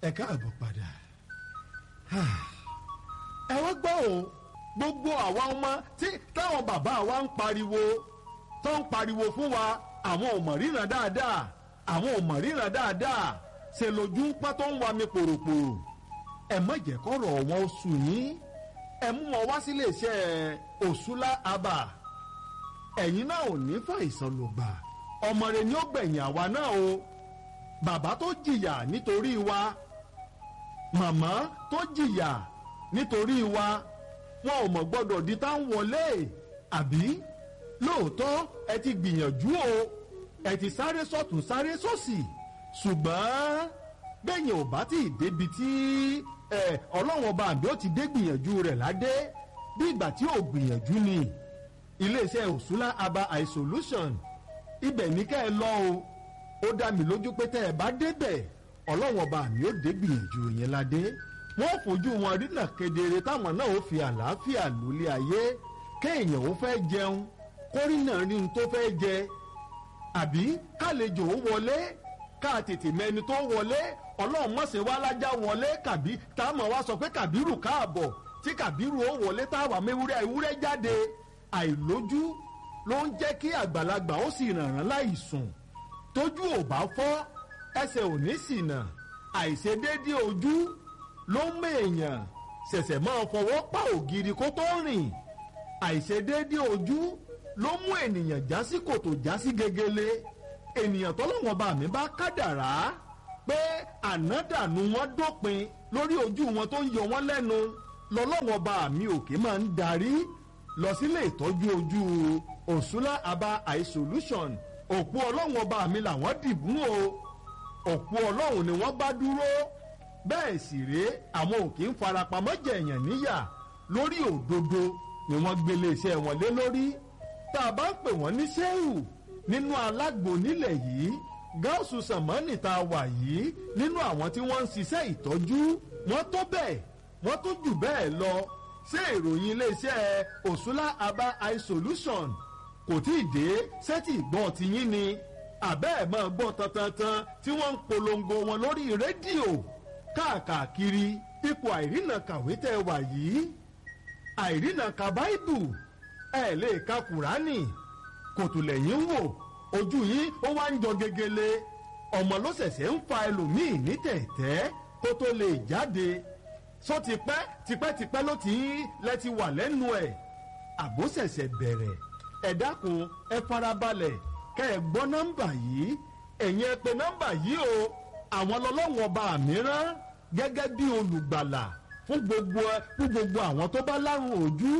Ẹ káàbọ̀ padà. Ẹ wá gbọ́ o, gbogbo àwa ọmọ tí táwọn bàbá wa ń pariwo, tó ń pariwo fún wa, àwọn ò mọ̀ ríran dáadáa, àwọn ò mọ̀ ríran dáadáa, ṣe lójú ń pọ́n tó ń wa mi pòròpòrò. Ẹ má jẹ́ kọ́rọ̀ wọn ó sùn yín, ẹ mú wọn wá sílé iṣẹ́ Òṣùlá Abà. Ẹ̀yin náà ò ní fàìsàn lògbà, ọmọ rẹ ni ó gbẹ̀yìn àwa náà o. Bàbá tó jìyà nítorí wa, màmá tó jìyà nítorí wa, wọn ò mọ̀ gbọ́dọ̀ di tá ń wọlé. Àbí lóòótọ́ ẹ ti gbìyànjú o, ẹ ti sáré sọ́tún sáré sósì, ṣùgbọ́n bẹ́yìn ò bá tí ì débi tí Ọlọ́run ọba àbí ó ti dé gbìyànjú rẹ̀ ládé, bí ìgbà tí ò gbìyànjú ni. Iléeṣẹ́ Òṣùlá Aba Eye Solution, ibẹ̀ ní kẹ́ ẹ lọ o. Ó dá mi lójú pé tẹ́ ẹ bá débẹ̀, Ọlọ́run ọba àmì ó dé gbìyànjú yẹn ládé. Wọ́n fojú wọn rínà kedere, táwọn náà ó fi àlàáfíà lólé ayé. Kéèyàn ó fẹ́ jẹun, kórìnà rí n tó fẹ́ jẹ, àbí kálejò ó wọlé, ká tètè mẹni tó wọlé. Ọlọ́run mọ̀sẹ̀ wá lájà wọlé, kàbí táwọn wá sọ pé Kàbírù káàbọ̀, tí Kàbírù ó wọlé táwa mewúrẹ́ ewúrẹ́ jáde. Àìlójú ló ń jẹ́ kí àgbàlagbà ó sì rànràn láì sùn. Tójú ò bá fọ́, ẹsẹ̀ ò ní ṣìnà. Àìṣedéédé ojú ló ń mèèyàn ṣẹ̀ṣẹ̀ máa fọwọ́ pa ògiri kó tó rìn. Àìṣedéédé ojú ló mú ènìyàn já sí kòtò, já sí gegele. Ènìyàn tọ́lọ́wọ́n bá mi bá kádàrá pé ànádànù wọn dópin lórí ojú wọn tó ń yọ wọn lẹ́nu, lọ́lọ́wọ́n bá mi òkè máa ń darí lọ sílé ìtọ́jú ojú Òṣùlá Aba Eye Solution. Òpó Ọlọ́run ọba mi làwọn dìbò o, òpó Ọlọ́run ni wọ́n bá dúró. Bẹ́ẹ̀ sì rèé, àwọn òkè ń farapamọ́ jẹ̀yàn níyà, lórí òdodo ni wọ́n gbélé iṣẹ́ wọn lé lórí. Tá a bá ń pè wọ́n ní sẹ́wù nínú alágbo nílẹ̀ yìí, gáàsù sàmánì tá a wà yìí, nínú àwọn tí wọ́n ń ṣiṣẹ́ ìtọ́jú, wọ́n tó bẹ́ẹ̀, wọ́n tó jù bẹ́ẹ̀ lọ. Ṣé ìròyìn iléeṣẹ́ Òṣùlá Aba Eye Solution kò tí ì dé sẹ́tì ìgbọ́n ti yín ni? Àbẹ́ ẹ̀ máa gbọ́ tantantan tí wọ́n ń polongo wọn lórí rédíò káàkiri. Ipò àìrìnà kàwé tẹ́ wà yìí, àìrìnà ka báìbù, ẹ̀ lè ka kùránì, kòtò lẹ́yìn ń wò, ojú yín ó wá ń jọ gegele. Ọmọ ló ṣẹ̀ṣẹ̀ ń fa ẹlòmíì ní tẹ̀tẹ́ kó tó lè jáde. Sọ tipẹ́ tipẹ́tipẹ́ ló ti ń lẹ ti wà lẹ́nu ẹ̀, àbó ṣẹ̀ṣẹ̀ bẹ̀rẹ̀. Ẹ dákun, ẹ farabalẹ̀ kẹ́ ẹ gbọ́ nọ́mbà yìí. Ẹ̀yin ẹ pè nọ́mbà yìí o. Àwọn lọ́lọ́wọ́n ọba mìíràn gẹ́gẹ́ bí olùgbàlà fún gbogbo àwọn tó bá lárùn ojú.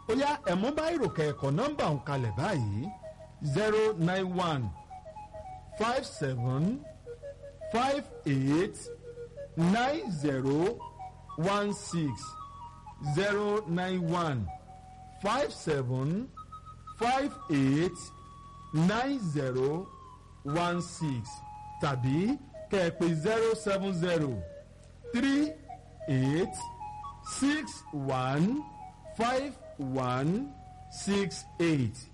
Ó yá, ẹ mú báyìí kẹ́ẹ̀kọ́ nọ́mbà ń kalẹ̀ báyìí: 09157589016, 09157589016, tàbí kẹ́ẹ̀pẹ́ 07038615168,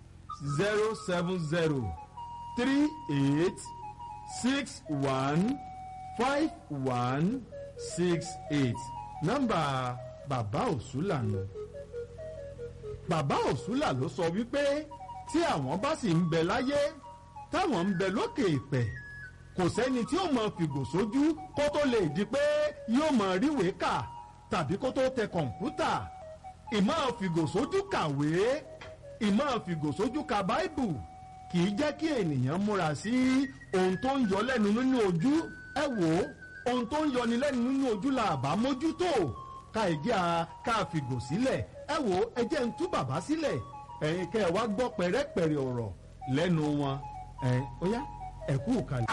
07038615168. Nọ́mbà bàbá Òṣùlà nù. Bàbá Òṣùlà ló sọ wípé tí àwọn bá sì ń bẹ láyé, táwọn ń bẹ lókè ìpẹ́, kò sẹ́ni tí ó mọ fìgò sójú kó tó lè di pé yóò mọ ríwèé kà tàbí kó tó tẹ kọ̀ǹpútà. Ìmọ̀ fìgò sójú kàwé, ìmọ̀ fìgò sójú ka báìbù kì í jẹ́ kí ènìyàn múra sí ohun tó ń yọ lẹ́nu nínú ojú. Ẹ wò ó, ohun tó ń yọni lẹ́nu nínú ojú la àbá mójútó ká ìjẹ́ a ká fìgò sílẹ̀. Ẹ wò ó, ẹ jẹ́ ń tú bàbá sílẹ̀, ẹ̀yin kẹ́ ẹ wá gbọ́ pẹ̀rẹ́pẹ̀rẹ́ ọ̀rọ̀ lẹ́nu wọn. Ẹ̀ ó yá, ẹ kú kalẹ̀.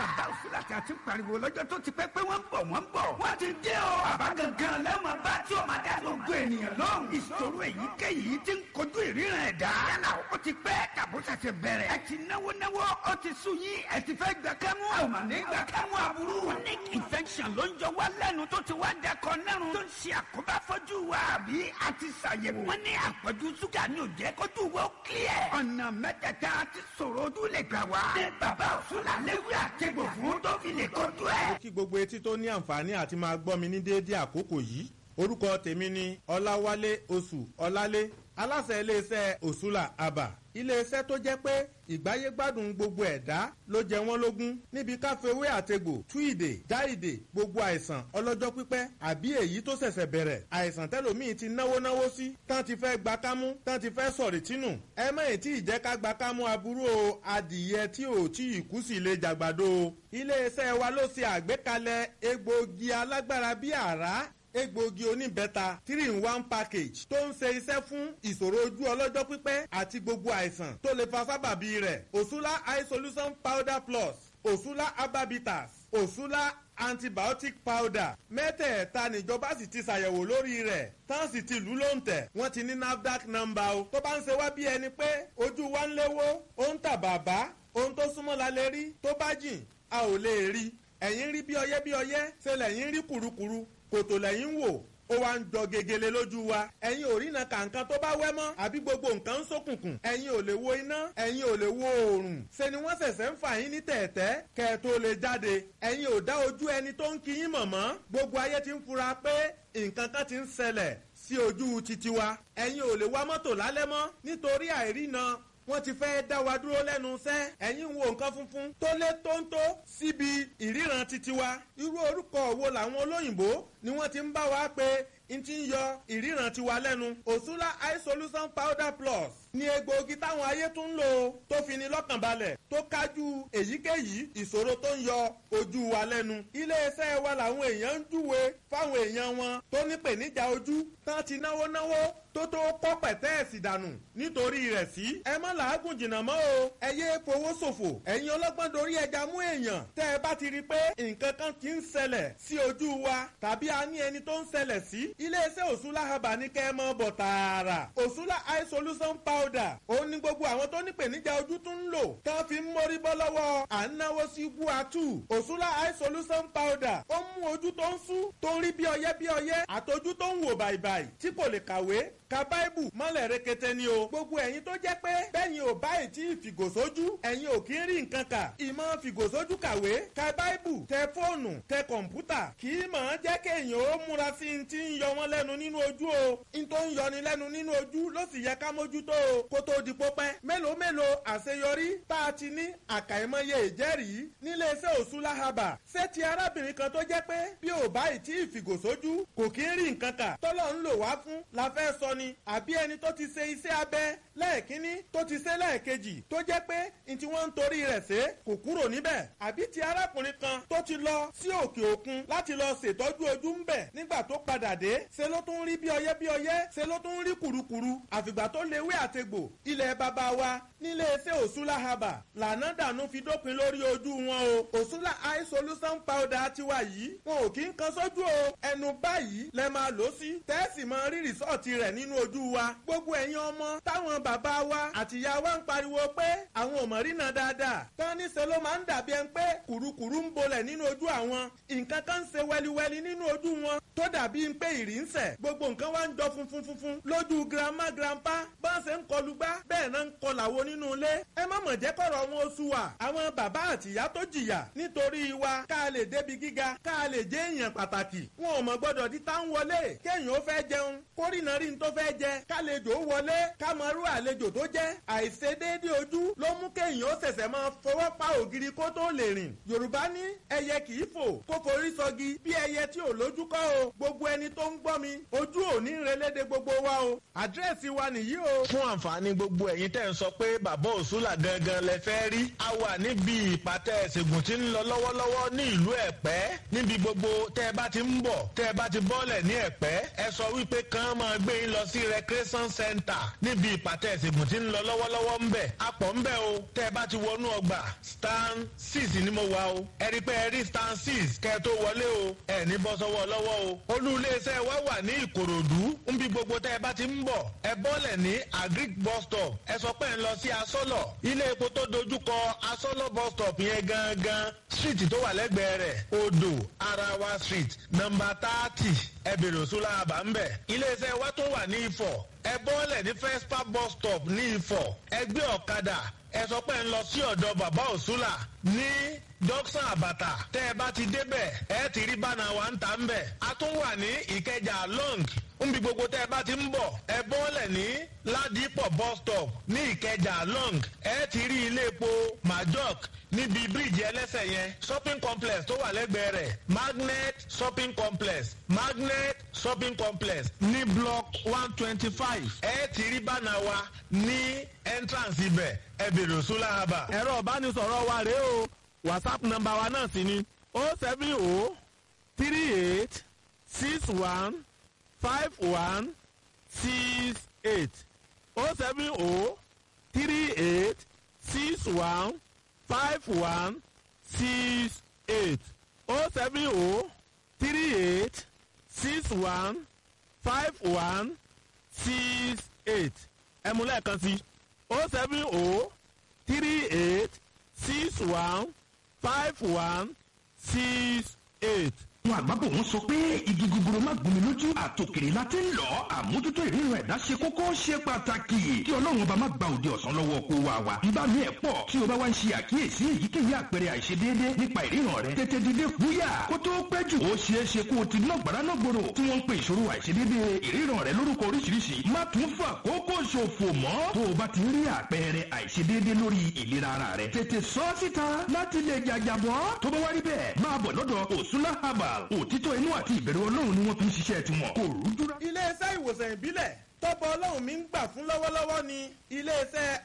Bàbá Òṣùlá tí a ti ń pariwo lọ́jọ́ tó ti pẹ́ pé wọ́n ń bọ̀, wọ́n ń bọ̀. Wọ́n ti dé o. Bàbá gangan lẹ́mọ̀ bá tí o máa dá gbogbo ènìyàn lóhùn. Ìṣòro èyíkéyìí ti ń kojú ìríran ẹ̀dá. Yálà ó ti pẹ́ tàbó ṣẹ̀ṣẹ̀ bẹ̀rẹ̀. Ẹ ti náwó náwó, ó ti sú yín, ẹ ti fẹ́ gbà kẹ́mú. A ò mà ní gbà kẹ́mú aburú. Chronic infection. infection ló ń jọ wá lẹ́nu tó ti wá dakọ̀ nẹ́rùn tó ń ṣe àkóbá fọ́jú wa àbí àti ṣàyẹ̀wò. Wọ́n ní àpọ̀jù ṣúgà ní òjẹ́ kójú wo clear. Ọ̀nà mẹ́tẹ̀ẹ̀ta ti sọ̀rọ̀ ojú lè gbà wá. Ní bàbá òṣùlà léwu àtẹ̀gbò fún tó fi lè kojú ẹ̀. Kí gbogbo etí tó ní àǹfààní àti máa gbọ́ mi ní déédéé àkókò yìí. Orúkọ tèmi ni Ọláwálé Oṣù Ọlálé, aláṣẹ iléeṣẹ́ Òṣùlà Àbà, iléeṣẹ́ tó jẹ́ pé ìgbáyégbádùn gbogbo ẹ̀dá ló jẹ wọ́n lógún níbi káfíwé àtegbò tú ìdè já ìdè gbogbo àìsàn ọlọ́jọ́ pípẹ́ àbí èyí tó ṣẹ̀ṣẹ̀ bẹ̀rẹ̀, àìsàn tẹ́lòmíì ti náwó náwó sí tán ti fẹ́ gba kámú, tán ti fẹ́ sọ̀rì tínú. Ẹ má ì tí ì jẹ́ ká gba kámú aburú o. Adìyẹ tí ò tí ì kú sí lè jàgbàdo o. Iléeṣẹ́ wa ló ṣe àgbékalẹ̀ egbòogi alágbára bíi àrá, egbòogi oníbẹ́ta 3 in 1 package tó ń ṣe iṣẹ́ fún ìṣòro ojú ọlọ́jọ́ pípẹ́ àti gbogbo àìsàn tó lè fa sábàbí rẹ̀. Òṣùlá Eye Solution Powder Plus, Òṣùlá Ababitas, Òṣùlá Antibiotic Powder, mẹ́tẹ̀ẹ̀ta níjọba sì ti ṣàyẹ̀wò lórí rẹ̀, tán sì ti lù lóǹtẹ̀. Wọ́n ti ní NAFDAC number o. Tó bá ń ṣe wá bí ẹni pé ojú wa ń léwó, ó ń tà bàbá, ohun tó súnmọ́ la lè rí, tó bá jìn a ò lè rí. Ẹ̀yin rí bí ọyẹ́ bí ọyẹ́ ṣe lẹ̀yin rí kùrukùru, kòtò lẹ́yìn wò, ó wá ń jọ gegele lójú wa. Ẹ̀yin ò rína kàǹkan tó bá wẹ́ mọ́, àbí gbogbo nǹkan ń ṣókùnkùn. Ẹ̀yin ò lè wo iná, ẹ̀yin ò lè wo oòrùn. Ṣe ni wọ́n ṣẹ̀ṣẹ̀ ń fà yín ní tẹ̀ẹ̀tẹ́ kẹ́ ẹ tó lè jáde. Ẹ̀yin ò dá ojú ẹni tó ń kí yín mọ̀ mọ́. Gbogbo ayé ti ń fura pé nǹkan kan ti ń ṣẹlẹ̀ sí ojú titi wa. Ẹ̀yin ò lè wa mọ́tò lálẹ́ mọ́ nítorí àìrína, wọ́n ti fẹ́ dá wa dúró lẹ́nu iṣẹ́. Ẹ̀yin ń wo nǹkan funfun tó lé tóńtó síbi ìríran titi wa. Irú orúkọ wo làwọn olóyìnbó ni wọ́n ti ń bá wa pé n ti ń yọ ìríran tiwa lẹ́nu? Òṣùlá Eye Solution Powder Plus ní egbòogi táwọn ayé tún ń lò tó fi ni lọ́kàn balẹ̀, tó kájú èyíkéyìí ìṣòro tó ń yọ ojú wa lẹ́nu. Iléeṣẹ́ wa làwọn èèyàn ń júwe fáwọn èèyàn wọn tó nípèníjà ojú, tán ti náwó náwó tó tó kọ́ pẹ̀tẹ́ẹ̀sì dànù nítorí rẹ̀ sí. Ẹ má làágùn jìnnà mọ́ o, ẹ yé fowó ṣòfò. Ẹ̀yin ọlọ́gbọ́n dorí ẹja mú èèyàn. Tẹ́ ẹ bá ti rí i pé nǹkan kan ti ń ṣẹlẹ̀ sí ojú wa tàbí a ní ẹni tó ń ṣẹlẹ̀ sí, iléeṣẹ́ Òṣùlá Herbal ní kẹ́ ẹ mọ́ bọ̀ tààrà. Òṣùlá Eye Solution Powder, òun ni gbogbo àwọn tó nípèníjà ojú tún ń lò tán fi ń mórí bọ́ lọ́wọ́ à ń náwó sí guatu. Òṣùlá Eye Solution Powder, ó mú ojú tó ń sú, tó ń rí bí ọyẹ́ bí ọyẹ́, àtọjú tó ń wò bàìbàì, tí kò lè kàwé ka báìbù mọ́lẹ̀ rekete ni o. Gbogbo ẹ̀yin tó jẹ́ pé bẹ́yìn ò báyìí tí ìfìgòsójú, ẹ̀yin ò kí ń rí nǹkan kà. Ìmọ̀ fìgòsójú kàwé, ka báìbù, tẹ fóònù, tẹ kọ̀ǹpútà, kì í mọ̀ ọ́n jẹ́ kéèyàn ó múra sí i ti ń yọ wọ́n lẹ́nu nínú ojú o. N tó ń yọni lẹ́nu nínú ojú ló sì yẹ ká mójútó o kó tó di pópẹ́. Mélòó mélòó àṣeyọrí tá a ti ní, àkàìmọye ìjẹ́rìí níléeṣẹ́ Òṣùlá Herbal. Ṣé ti arábìnrin kan tó jẹ́ pé bí ò báyìí tí ìfìgòsójú kò kí ń rí nǹkan kà, tọ́lọ́ ń lò wá fún la fẹ́ sọ ni, àbí ẹni tó ti ṣe iṣẹ́ abẹ lẹ́ẹ̀kínní, tó ti ṣe lẹ́ẹ̀kejì, tó jẹ́ pé n tí wọ́n ń torí rẹ̀ ṣe kò kúrò níbẹ̀, àbí ti arákùnrin kan tó ti lọ sí òkè òkun láti lọ ṣètọ́jú ojú ń bẹ̀, nígbà tó padà dé ṣe ló tún rí bí ọyẹ́ bí ọyẹ́, ṣe ló tún rí kùrukùru, àfìgbà tó léwé àtegbò ilẹ̀ bàbá wa nílé iṣẹ́ Òṣùlá Herbal lànà dànù fi dópin lórí ojú wọn o. Òṣùlá Eye Solution Powder tiwa yìí, wọn ò kí ń kan sójú o. Ẹnu báyìí lẹ máa lò sí, tẹ́ẹ̀sì máa rí rìsọ́ọ̀tì rẹ̀ nínú ojú wa. Gbogbo ẹ̀yin ọmọ táwọn bàbá wa àtìyá wa ń pariwo pé àwọn ò mọ̀ rínà dáadáa, tán níṣẹ́ ló máa ń dàbí ẹni pé kùrukùru ń bolẹ̀ nínú ojú àwọn, nǹkan kan ń ṣe wẹliwẹli nínú ojú wọn tó dàbí pé ìrì ń sẹ̀, gbogbo nǹkan wá ń jọ funfun funfun lójú grandma grandpa, bá ń ṣe ń kọlu gbá bẹ́ẹ̀ náà ń kọlàwo nínú ilé. Ẹ má mọ̀ jẹ́ kọ̀rọ̀ wọn oṣù wa. Àwọn bàbá àtìyá tó jìyà nítorí wa ká lè débi gíga, ká lè jẹ́ èèyàn pàtàkì, wọn ò mọ̀ gbọ́dọ̀ di tá ń wọlé. Kéèyàn ó fẹ́ jẹun kórìnà rí n tó fẹ́ jẹ, kálejò wọlé kámọ́rú àlejò tó jẹ́. Àìṣedéédé ojú ló mú kéèyàn ó ṣẹ̀ṣẹ̀ máa fọwọ́ pa ògiri kó tó lè rìn. Yorùbá ní ẹyẹ kì í fò kó forí sọgi, bí ẹyẹ tí ò lójú kọ́ o. Gbogbo ẹni tó ń gbọ́ mi, ojú ò ní relédè gbogbo wa o. Àdírẹ́sì wa nìyí o. Fún àǹfààní gbogbo ẹ̀yin tẹ́ ń sọ pé bàbá Òṣùlà gangan lẹ fẹ́ rí, a wà níbi ìpàtẹ ìṣègùn tí ń lọ lọ́wọ́lọ́wọ́ ní ìlú Ẹ̀pẹ́. Níbi gbogbo tẹ́ ẹ bá ti ń bọ̀, tẹ́ ẹ bá ti bọ́lẹ̀ ní Ẹ̀pẹ́, ẹ sọ wípé kàn máa gbé yín lọ sí sí recreation center níbi ìpàtẹ ìṣègùn tí ń lọ lọ́wọ́lọ́wọ́ ń bẹ̀. Apọ̀ ń bẹ̀ o. Tẹ́ ẹ bá ti wọnú ọgbà, stand 6 ni mo wà o. Ẹ rí pé ẹ rí stand 6 kẹ́ ẹ tó wọlé o. Ẹ ní bọ́ sọ́wọ́ lọ́wọ́ o. Olú iléeṣẹ́ wa wà ní Ìkòròdú. Ń bí gbogbo tẹ́ ẹ bá ti ń bọ̀, ẹ bọ́lẹ̀ ní Agric bus stop. Ẹ sọ pé ẹ ń lọ sí Asọ́lọ̀. Ilé epo tó dojúkọ Asọ́lọ̀ bus stop yẹn gangan, street tó wà lẹ́gbẹ̀ẹ́ rẹ̀, Odò Arawa Street, nọ́mbà 30. Ẹ bèrè Òṣùlá àbá ń bẹ̀. Iléeṣẹ́ wa tó wà ní Ifọ̀, ẹ bọ́lẹ̀ ní Fespa bus stop ní Ifọ̀. Ẹ gbé ọ̀kadà, ẹ sọ pé ń lọ sí ọ̀dọ̀ bàbá Òṣùlà ní Junction Àbàtà. Tẹ́ ẹ bá ti débẹ̀, ẹ ti rí bánà wa ń ta ń bẹ̀. A tún wà ní Ìkẹjà long. Nbi gbogbo tẹ́ ẹ bá ti ń bọ̀, ẹ bọ́lẹ̀ ní Ládìpọ̀ bus stop ní Ìkẹjà long. Ẹ ti rí ilé epo Majok níbi bíríìjì ẹlẹ́sẹ̀ yẹn, shopping complex tó wà lẹ́gbẹ̀ẹ́ rẹ̀, Magnet shopping complex, Magnet shopping complex ní block 125. Ẹ ti rí bánà wa ní entrance ibẹ̀. Ẹ bèrè Òṣùlá àbà. Ẹ̀rọ ìbánisọ̀rọ̀ wa rèé o. WhatsApp nọ́mbà wa náà sì ni 07038615168, 07038615168, 07038615168. Ẹ mú lẹ́ẹ̀kan sí, 07038615168. Àwọn àgbàbọ̀ wọn sọ pé igi gogoro má gún mi lójú, àtòkèrè la ti ń lọ. Àmójútó ìríran ẹ̀dá ṣe kókó, ṣe pàtàkì. Kí Ọlọ́run ọba má gba òde ọ̀sán lọ́wọ́ kó wa wa. Bíbá mi ẹ̀ pọ̀ tí o bá wá ń ṣe àkíyèsí èyíkéyìí àpẹẹrẹ àìṣedéédé nípa ìríran rẹ, tètè dìde fúyà kó tó pẹ́ jù. Ó ṣeé ṣe kó o ti ná gbàrà náà gbòòrò tí wọ́n ń pe ìṣòro àìṣedéédé ìríran rẹ lórúkọ oríṣiríṣi. Má tún fà kókó ṣòfò mọ́. Tó o bá ti rí àpẹẹrẹ àìṣedéédé lórí ìlera ara rẹ, tètè sọ ọ́ síta láti lè jàjàbọ́. Tó bá wá rí bẹ́ẹ̀, máa bọ̀ lọ́dọ̀ Òsúnlá Herbal. Òtítọ́ inú àti ìbẹ̀rù Ọlọ́run ni wọ́n fi ń ṣiṣẹ́ tiwọn. Kò rújú rá. Iléeṣẹ́ ìwòsàn ìbílẹ̀ tọ́pọ̀ Ọlọ́run mi ń gbà fún lọ́wọ́lọ́wọ́ ni iléeṣẹ́